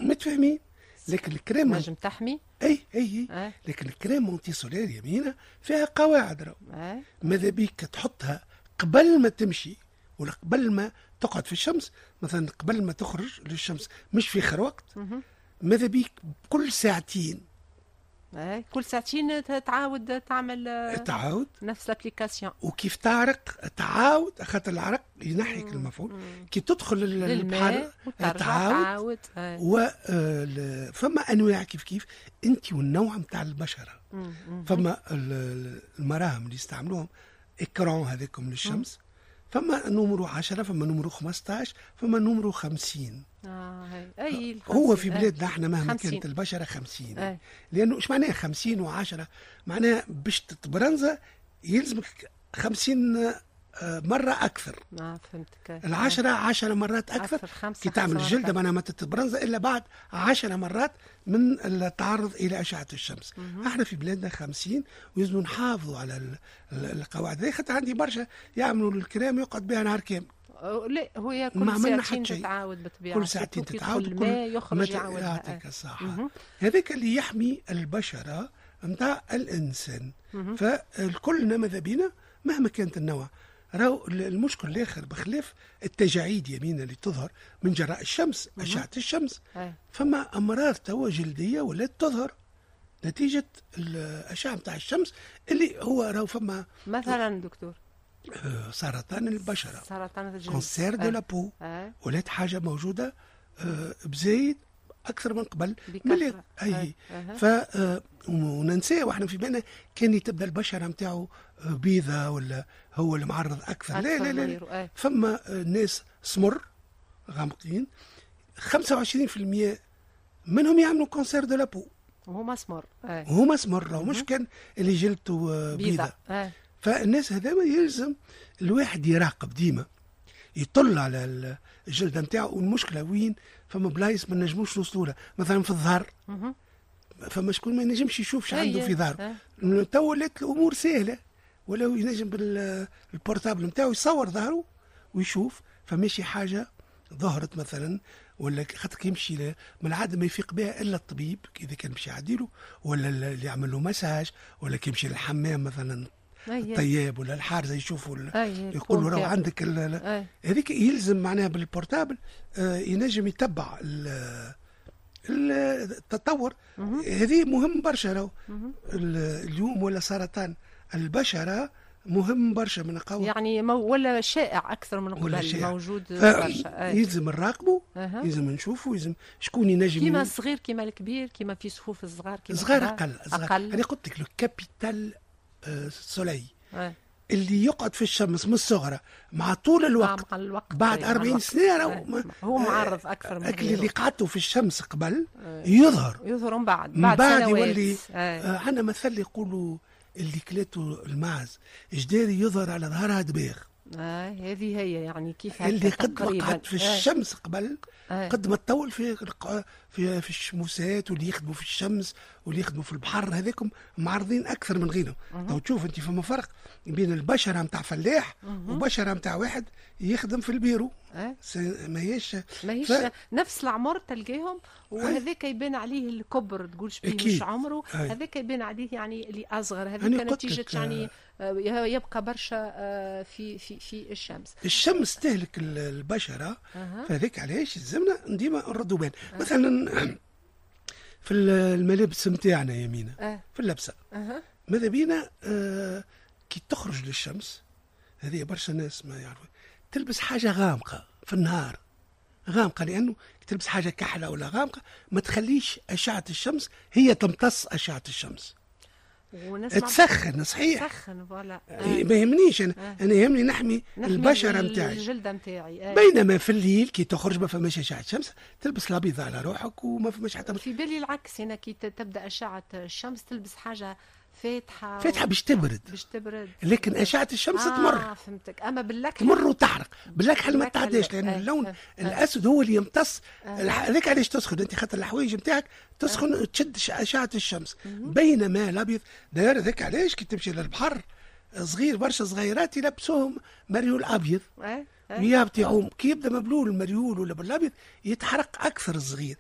متفاهمين، لكن الكريم نجم تحمي. اي. لكن ال crème anti-solaire يا مينا فيها قواعد راهو. ماذا بيك تحطها قبل ما تمشي ولا قبل ما تقعد في الشمس، مثلا قبل ما تخرج للشمس، مش في اخر وقت. ماذا بيك كل ساعتين. كل ساعتين تعاود تعمل. تعاود. نفس l'application. وكيف تعرق تعاود، خاطر العرق ينحيك المفعول. كي تدخل البحر تعاود. و فما انواع كيف كيف انت والنوع نتاع البشره. فما المراهم اللي يستعملوهم écran هذاكم للشمس، فما numéro 10، فما numéro 15، فما numéro 50. اي. هو في بلادنا احنا مهما كانت البشرة 50. لانه ايش معناها 50 و10؟ معناها باش تتبرنزا يلزمك 50 مرة أكثر. اه فهمتك. العشرة 10 مرات أكثر، أكثر. كي تعمل الجلدة معناها ما تتبرنزا إلا بعد 10 مرات من التعرض إلى أشعة الشمس. احنا في بلادنا 50، ويلزم نحافظوا على القواعد هذه، خاطر عندي برشا يعملوا الكريم يقعد بها نهار كامل. لا، هو كل ساعتين تتعاود بالطبيعة. كل ساعتين تتعاود. كل يخرج يعاود. يعطيك الصحة. هذاك اللي يحمي البشرة نتاع الإنسان. فالكلنا ماذا بينا مهما كانت النوع. راهو المشكل الاخر بخلاف التجاعيد يمينا اللي تظهر من جراء الشمس، اشعه الشمس، فما امراض توا جلدية ولات تظهر نتيجة الاشعة نتاع الشمس، اللي هو راهو فما مثلا دكتور؟ سرطان البشره. سرطان الجلد، cancer de la peau، ولات حاجة موجودة بزايد اكثر من قبل. ملي اي ف وننساه واحنا في بالنا كان تبدا البشرة نتاعو بيضة ولا هو اللي معرض اكثر. لا لا لا، لا. فما ناس سمر غامقين، 25% منهم يعملوا cancer de la peau. وهما سمر. وهما سمر، مش كان اللي جلدته بيضة. فالناس هذا يلزم الواحد يراقب ديما، يطل على الجلدة نتاعو. والمشكلة وين؟ فما بلايص ما نجموش نوصلوا لها، مثلا في الظهر، فما شكون ما ينجمش يشوف شو عنده في ظهره. تو ولات الامور سهله، ولو ينجم بال portable نتاعو يصور ظهره ويشوف فماشي حاجة ظهرت مثلا، ولا خاطر يمشي من العادة ما يفيق بها الا الطبيب اذا كان باش يعديله ولا اللي يعمل له مساج، ولا كي يمشي للحمام مثلا الطياب ولا الحارزه يشوفوا، يقولوا راهو عندك هذيك. يلزم معناها بال portable ينجم يتبع التطور. هذه مهم برشا. راهو اليوم ولا سرطان البشرة مهم برشا من قوي. يعني ولا شائع اكثر من قبل، موجود برشا. يلزم نراقبه، يلزم نشوفه، يلزم شكون ينجم. كيما الصغير كيما الكبير، كيما في صفوف الصغار كيما صغار اقل. اقل. انا قلت لك le capital soleil اللي يقعد في الشمس من الصغرى مع طول الوقت، مع الوقت بعد 40 سنة هو معرض اكثر من اللي قعدته في الشمس قبل يظهر. يظهر من بعد. بعد, بعد يولي عندنا مثل يقولوا: اللي كلته المعز جداري يظهر على ظهرها دباغ. هذه هي يعني كيف اللي قد ما قعد في الشمس قبل، قد ما تطول في الشموسات، واللي يخدموا في الشمس واللي يخدموا في البحر هذاكم معرضين اكثر من غيرهم. تو تشوف انت فما فرق بين البشرة نتاع فلاح وبشره نتاع واحد يخدم في البيرو. ماهيش ماهيش نفس العمر تلقاهم، وهذاك يبان عليه الكبر، تقولش بيه مش عمره. هذاك يبان عليه يعني اللي اصغر، هذيك نتيجة يعني يبقى برشا في الشمس. الشمس تهلك البشره. فهذاك علاش لازمنا ديما نردوا بال. مثلا في الملابس نتاعنا يا مينا، في اللبسه، ماذا بينا كي تخرج للشمس، هذه برشا ناس ما يعرفوا، تلبس حاجة غامقه في النهار، غامقه، لانه تلبس حاجة كحلة ولا غامقه ما تخليش اشعه الشمس هي تمتص اشعه الشمس. تسخن صحيح. تسخن، voilà. ما يهمنيش انا. انا يهمني نحمي البشرة نتاعي. الجلدة نتاعي. بينما في الليل كي تخرج ما فماش اشعه شمس، تلبس الابيض على روحك وما فماش حتى في بالي العكس هنا، كي تبدا اشعه الشمس تلبس حاجة فاتحه. فاتحة باش تبرد. باش تبرد. لكن اشعه الشمس تمر. فهمتك، اما باللكحل تمر وتحرق. باللكحل ما تعداش، لان اللون الاسود هو اللي يمتص. هذاك علاش تسخن انت، خاطر الحوايج نتاعك تسخن وتشد اشعه الشمس، بينما الابيض داير. هذاك علاش كي تمشي للبحر صغير، برشا صغيرات يلبسوهم مريول ابيض ويهبط يعوم، كي يبدا مبلول المريول ولا بالابيض يتحرق اكثر الصغير.